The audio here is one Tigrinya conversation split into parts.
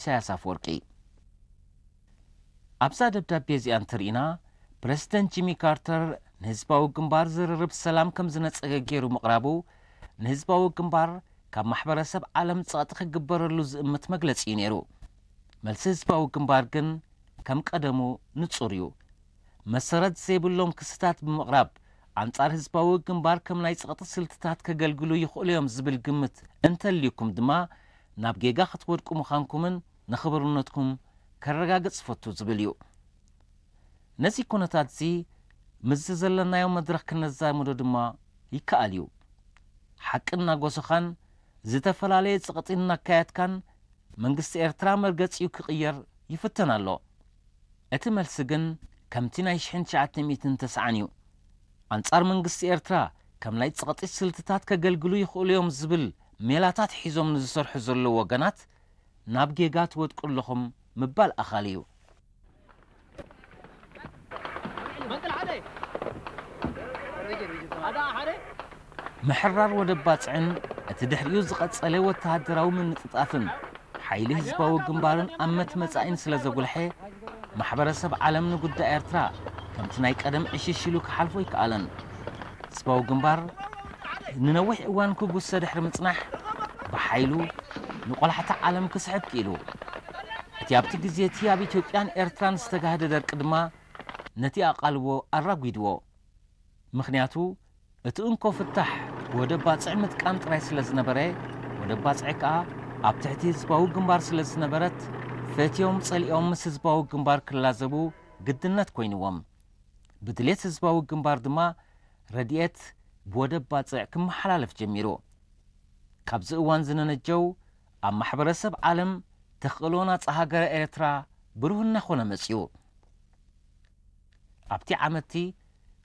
ኢሳያስ ኣፈወርቂ። ኣብዛ ደብዳቤ እዚኣ እንተርኢና፣ ፕረዚደንት ጂሚ ካርተር ንህዝባዊ ግንባር ዝርርብ ሰላም ከም ዝነጸገ ገይሩ ምቕራቡ፣ ንህዝባዊ ግንባር ካብ ማሕበረሰብ ዓለም ጸቕጢ ክግበረሉ ዝእምት መግለጺ እዩ ነይሩ። መልሲ ህዝባዊ ግንባር ግን ከም ቀደሙ ንጹር እዩ። መሰረት ዘይብሎም ክስታት ብምቕራብ፣ ኣንጻር ህዝባዊ ግንባር ከም ናይ ጸቕጢ ስልትታት ከገልግሉ ይኽእሉ እዮም ዝብል ግምት እንተልዩኩም ድማ፣ ናብ ጌጋ ክትወድቁ ምዃንኩምን ንኽብርነትኩም ከረጋግጽ ፈቱ ዝብል እዩ። ነዚ ኩነታት እዚ ምስዚ ዘለናዮ መድረኽ ክነዛምዶ ድማ ይከኣል እዩ። ሓቂ እናጎሰኻን ዝተፈላለየ ጸቕጢ እናካየድካን መንግስቲ ኤርትራ መርገጺኡ ክቕየር ይፍተን ኣሎ። እቲ መልሲ ግን ከምቲ ናይ ሽሕን ትሽዓተ ሚእትን ተስዓን እዩ። ኣንጻር መንግስቲ ኤርትራ ከም ናይ ጸቕጢ ስልትታት ከገልግሉ ይኽእሉ እዮም ዝብል ሜላታት ሒዞም ንዝሰርሑ ዘለዉ ወገናት ናብ ጌጋ ትወድቁ ኣለኹም ምባል ኣኻሊ እዩ። ምሕራር ወደብ ባጽዕን እቲ ድሕሪኡ ዝቐጸለ ወተሃደራዊ ምንጥጣፍን ሓይሊ ህዝባዊ ግንባርን ኣመት መጻኢን ስለ ዘጉልሐ፣ ማሕበረሰብ ዓለም ንጉዳይ ኤርትራ ከምቲ ናይ ቀደም ዕሽሽ ኢሉ ክሓልፎ ኣይከኣለን። ህዝባዊ ግንባር ንነዊሕ እዋን ክጉሰ ድሕሪ ምጽናሕ፣ ብሓይሉ ንቆላሕታ ዓለም ክስሕብ ክኢሉ። እቲ ኣብቲ ግዜ እቲ ኣብ ኢትዮጵያን ኤርትራን ዝተጋህደ ደርቂ ድማ ነቲ ኣቓልቦ ኣራጒድዎ። ምኽንያቱ፣ እቲ እንኮ ፍታሕ ወደብ ባጽዕ ምጥቃም ጥራይ ስለ ዝነበረ፣ ወደብ ባጽዕ ከኣ ኣብ ትሕቲ ህዝባዊ ግንባር ስለ ዝነበረት፣ ፈትዮም ጸሊኦም ምስ ህዝባዊ ግንባር ክላዘቡ ግድነት ኮይንዎም። ብድሌት ህዝባዊ ግንባር ድማ ረድኤት ብወደብ ባጽዕ ክመሓላለፍ ጀሚሩ። ካብዚ እዋን ዝነነጀው ኣብ ማሕበረሰብ ዓለም ተኽእሎ ናጻ ሃገረ ኤርትራ ብሩህ እናኾነ መጺኡ። ኣብቲ ዓመትቲ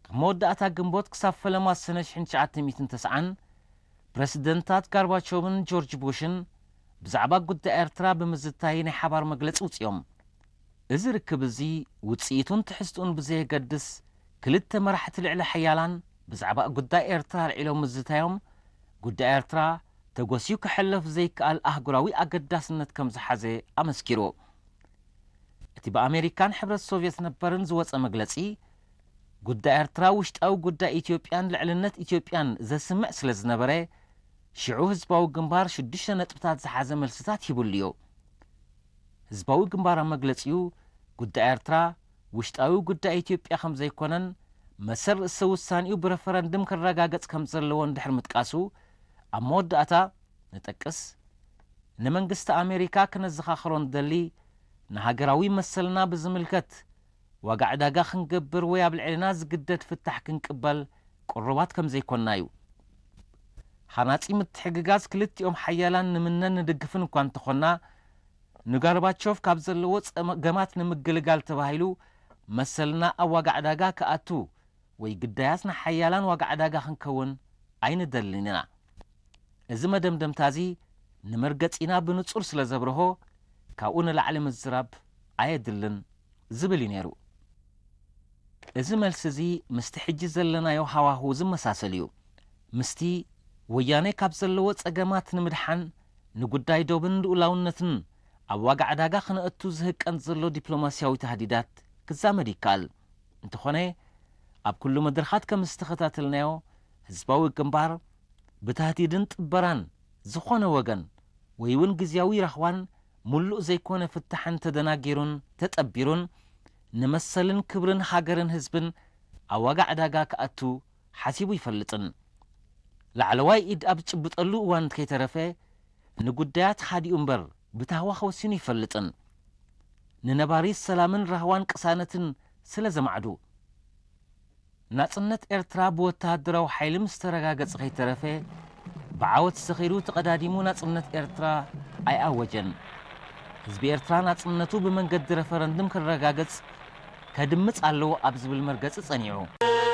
ካብ መወዳእታ ግንቦት ክሳብ ፈለማ ሰነ ሽሕን ትሽዓተ ሚእትን ተስዓን ፕረሲደንታት ጋርባቾቭን ጆርጅ ቡሽን ብዛዕባ ጉዳይ ኤርትራ ብምዝታይ ናይ ሓባር መግለጺ ውጽዮም። እዚ ርክብ እዚ ውጽኢቱን ትሕዝትኡን ብዘየገድስ ክልተ መራሕቲ ልዕለ ሓያላን ብዛዕባ ጉዳይ ኤርትራ ኣልዒሎም ምዝታዮም ጉዳይ ኤርትራ ተጎስዩ ክሕለፍ ዘይከኣል ኣህጉራዊ ኣገዳስነት ከም ዝሓዘ ኣመስኪሩ። እቲ ብኣሜሪካን ሕብረት ሶቭየት ነበርን ዝወጸ መግለጺ፣ ጉዳይ ኤርትራ ውሽጣዊ ጉዳይ ኢትዮጵያን ልዕልነት ኢትዮጵያን ዘስምዕ ስለ ዝነበረ፣ ሽዑ ህዝባዊ ግንባር ሽዱሽተ ነጥብታት ዝሓዘ መልስታት ሂቡሉ እዩ። ህዝባዊ ግንባር ኣብ መግለጺኡ፣ ጉዳይ ኤርትራ ውሽጣዊ ጉዳይ ኢትዮጵያ ከም ዘይኮነን፣ መሰል ርእሰ ውሳኔኡ ብረፈረንድም ክረጋገጽ ከም ዘለዎን ድሕሪ ምጥቃሱ፣ ኣብ መወዳእታ ንጠቅስ፣ ንመንግስቲ ኣሜሪካ ክነዘኻኽሮ ንደሊ፣ ንሃገራዊ መሰልና ብዝምልከት ዋጋ ዕዳጋ ክንገብር ወይ ኣብ ልዕልና ዝግደድ ፍታሕ ክንቅበል ቅሩባት ከም ዘይኮንና እዩ። ሃናጺ ምትሕግጋዝ ክልቲኦም ሓያላን ንምነን ንድግፍን እኳ እንተኾንና፣ ንጋርባቾቭ ካብ ዘለዎ ጸገማት ንምግልጋል ተባሂሉ መሰልና ኣብ ዋጋ ዕዳጋ ክኣቱ ወይ ግዳያት ንሓያላን ዋጋ ዕዳጋ ክንከውን ኣይንደልን ኢና። እዚ መደምደምታ እዚ ንመርገጺና ብንጹር ስለ ዘብርሆ፣ ካብኡ ንላዕሊ ምዝራብ ኣየድልን ዝብል እዩ ነይሩ። እዚ መልሲ እዚ ምስቲ ሕጂ ዘለናዮ ሃዋህው ዝመሳሰል እዩ። ምስቲ ወያኔ ካብ ዘለዎ ጸገማት ንምድሓን ንጉዳይ ዶብን ልኡላውነትን ኣብ ዋጋ ዕዳጋ ክነእቱ ዝህቀን ዘሎ ዲፕሎማስያዊ ታህዲዳት ክዛመድ ይከኣል። እንተኾነ፣ ኣብ ኩሉ መድረኻት ከም ዝተኸታተልናዮ፣ ህዝባዊ ግንባር ብታህዲድን ጥበራን ዝኾነ ወገን ወይ እውን ግዝያዊ ራህዋን ምሉእ ዘይኮነ ፍታሕን ተደናጊሩን ተጠቢሩን ንመሰልን ክብርን ሃገርን ህዝብን ኣብ ዋጋ ዕዳጋ ክኣቱ ሓሲቡ ይፈልጥን። ላዕለዋይ ኢድ ኣብ ዝጭብጠሉ እዋን ከይተረፈ ንጉዳያት ሓዲኡ እምበር ብታህዋኽ ወሲኑ ይፈልጥን። ንነባሪ ሰላምን ራህዋን ቅሳነትን ስለ ዘማዕዱ። ናጽነት ኤርትራ ብወተሃደራዊ ሓይሊ ምስ ተረጋገጸ ከይተረፈ፣ ብዓወት ሰኺሩ ተቐዳዲሙ ናጽነት ኤርትራ ኣይኣወጀን። ህዝቢ ኤርትራ ናጽነቱ ብመንገዲ ረፈረንድም ክረጋገጽ ከድምጽ ኣለዎ ኣብ ዝብል መርገጺ ጸኒዑ።